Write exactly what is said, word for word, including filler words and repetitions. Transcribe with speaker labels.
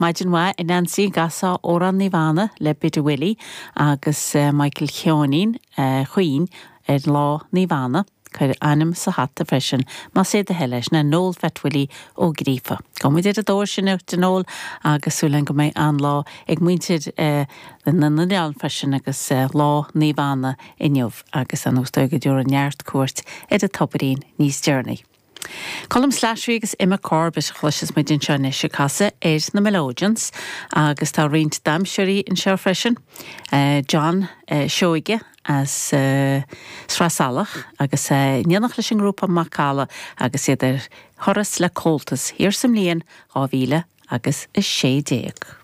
Speaker 1: Maidin mhaith a Nancy gcasfá Amhrán Naomh Anna le Biddy Willie agus uh, Michael Sheáinín uh, chuin ar lá Naomh Anna. Cuir ainm sa hata freisin más é do thoil é sin Noel Phat Willie Ó Gríofa. Gabhaimid ar an dtóir sin a Noel agus súil go mbeidh an-lá ag muintir uh, na n-oileán freisin agus uh, lá Naomh Anna inniu agus an úsú go dtúr an neart cuairt ar an tobairín níos deireanaí. Colm Slattery agus Emma Corbett chloisfidh muid anseo anois ag casadh ar na Melodians agus tá roinnt damhsóirí anseo freisin. Uh, John uh, Seoige as uh, Sraith Salach agus uh, déanach leis an ngrúpa Macalla agus iad ar thuras le Comhaltas thiar sa mbliain dhá mhíle agus a sé déag.